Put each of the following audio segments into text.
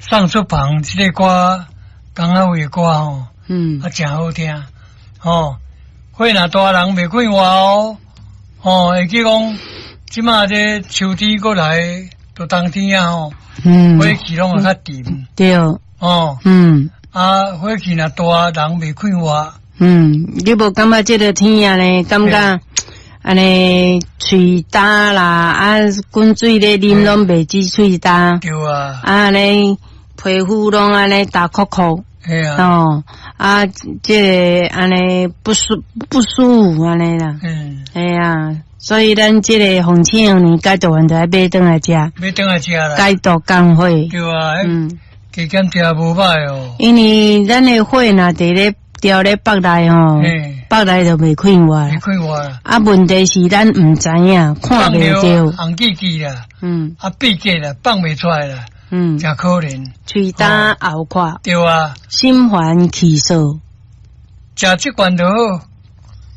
送出房這个歌，江仔偉的歌吼，啊，誠好聽，吼，火若大人袂快活哦，吼，會記講，這馬這秋天過來，到冬天啊吼，火氣攏會較沉，哦，啊，火氣若大，人袂快活。嗯，你無感覺這个天啊呢？感覺按呢喙焦啦，啊，滾水咧啉攏袂止喙焦。對啊。啊，按呢皮膚攏按呢焦硞硞。嘿啊。哦，啊，這个按呢不舒服按呢啦。嘿啊，所以咱這个鳳青黃連解毒丸就愛買轉來食。買轉來食啦。解毒降火。對啊。加減食無䆀哦。因為咱的火若佇咧牢咧腹內吼，腹內就袂快活。袂快活。啊，問題是咱毋知影，看袂著。紅記記啦，啊，閉結啦，放袂出來啦，誠可憐。喙焦喉渴。對啊。心煩氣躁。食這罐就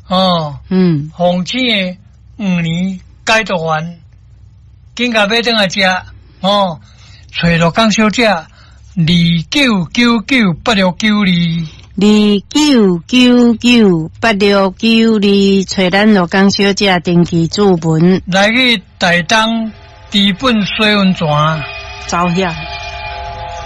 好，哦。鳳青的黃連解毒丸，緊共買轉來食，哦，揣鹿港小姐，29998692。29998692，揣咱鹿港小姐登記注文。來去台東知本水溫泉，走遐。